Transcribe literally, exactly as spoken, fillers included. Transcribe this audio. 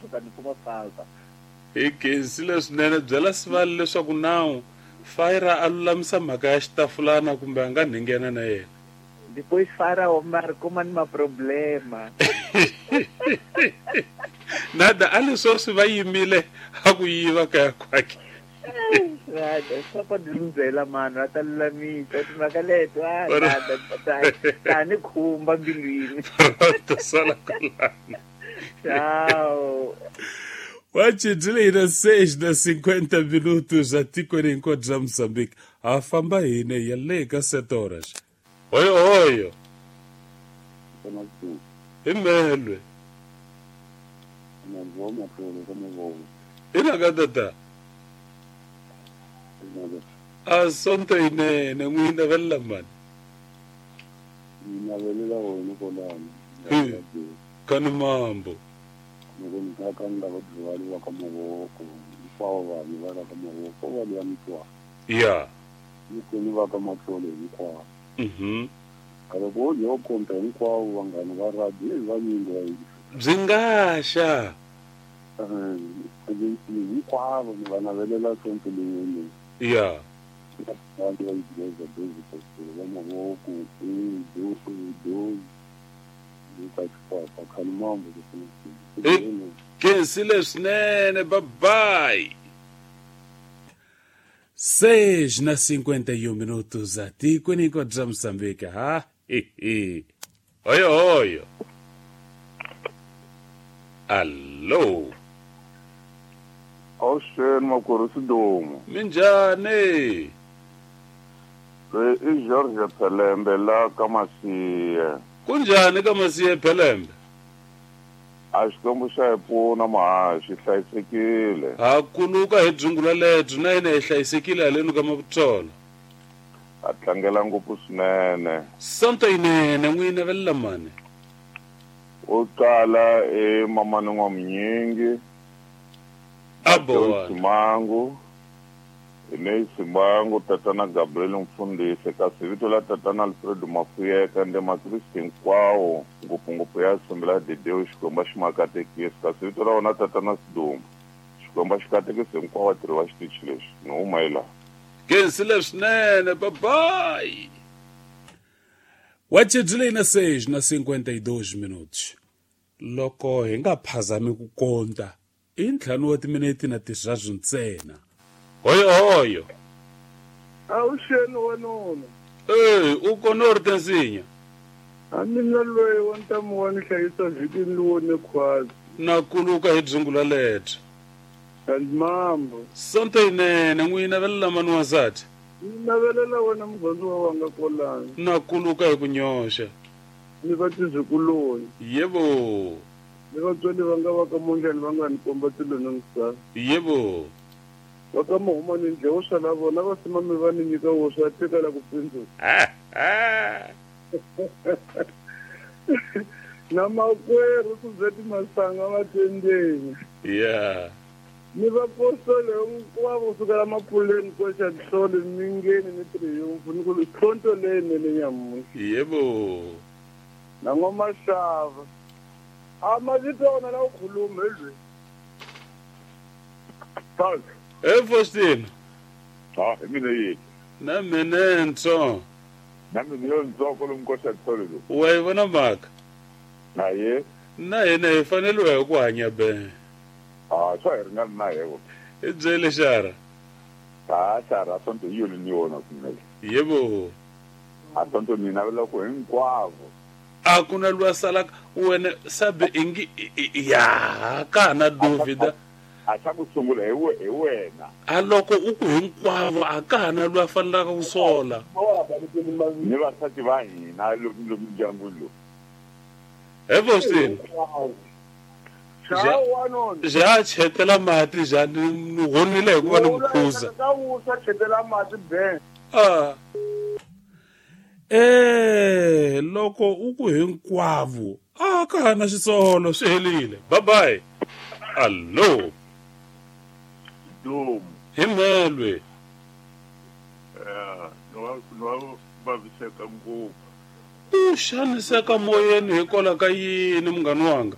tshuka ni kuma falta. Hi khensile swinene byela Sivali leswaku nawu Fire a lulamisa mhaka ya xitafulana kumbe a nga nghena na yena. Depois Fire o mar kuma ni ma problema. Nada a leswo swi va yimile a ku yiva kaya kwakhe. Nada swa pa ndlela mano a ta lulamisa timhaka leto a nada ta ni khumba mbilwini. To sala kwalano. Ciao. Wachidile seis na cinquenta minutos atikweni hinkwaro ra Mozambique. Ha famba hine ya le ka sete horas. Oyo oyo. Imelwe. Ina tata. A sonto inene n'wina vella mani. Mina velela wena kolana. Kani mambo. Yeah. Mhm. Bzingasha. Yeah. Khensile swinene, bye bye. Seis na cinquenta e um minutos atikweni hinkwaro ra Mozambique. Ha he. Oyo oyo. Allo. Awuxeni makwerhu Sidumo. Minjhani? I George Phelembe la ka Masiye. Kunjhani ka Masiye Phelembe? A Xikwembu xa hi pfuna mahaxi hlayisekile. Ha kuluka hi dzungula lebyi na hina hi hlayisekile haleni ka Mavutsola. A tlangela ngopfu swinene. Sonto yinene n'wina velela mani. U qala e mamani N'wamunyingi. Abo. Simangu. Ine Simangu tatana Gabriel Mfundisi kasi vito la tatana Alfred Mafuyeka nde Makristu hinkwawo ngopfungopfu ya Assemblea de Deus Xikwembu xi ma katekisi kasi vito ra wona tatana Sidumo Xikwembu xi katekisi hinkwavo vatirhi va xitichi lexi ni huma hi laha. Khensile swinene, bye bye. Wachidile na seis na cinquenta e dois minutos. Loko hi nga phazami ku konta i ntlhanu wa timinete na tirharu ntsena. Oyo oyo. Awuxeni wanuna. Eh, u kona u ri tinsinya. A mina loyi wa ntamu wa ni hlayisa vhikini lowo ni khwazi. Na kuluka hi dzungula lebyi. And mambo. Sonto yinene n'wina velela mani wansati. Ni navelela wena murhandziwa wanga kolani. Na kuluka hi ku nyoxa. Ni va tizikuloni. Yebo. Ni vatswari va nga va ka Mondlani va nga ni komba tilo na misava. Yebo. Va ka Mahumani ndle wo sala vona va simame va ni nyika wo swa tekela ku pindzuka. Ah ah. Na makwerhu Suzette Masanga va tendeni. Yeah. Ni vapostoli hinkwavo kusukela Mapuleni koxa Nhlole Mingeni ni Triumph ni ku sonto leyinene nyamuntlha. Yebo. Na N'wamasava. A mavito ya wona la ku khuluma hi lweyi. Eh Faustino. Ah, hi mina yini? Na mina ntsongo. Na mina yo ntsongo lomu koxa Nhlole lowu. Wa yi vona mhaka? Na ye. Na hina hi faneliwa hi ku hanya be. Ah, swa hi ringana na yebo. I byele xara. Ah, xara sonto hi yona ni yona kumele. Yebo. A sonto ni navela ku hinkwavo. A ku na lwa salaka wena sabe ingi ya ka na duvida. A xa ku sungula hi we hi wena. A loko u ku hinkwavo a ka na lwa fanelaka ku sola. Ni vasati va hina lomu ndyangwini lowu. He Faustino. Ja chetela mati ja ni honile hi ku va ni mukhuza. Ah. Eh loko u ku hinkwavo a ka na xisolo swi helile. Bye bye. Allo. Dum. Himelwe. Eh, no no vaviseka ngopfu. U xaniseka moyeni hikwalaho ka yini munghana wanga?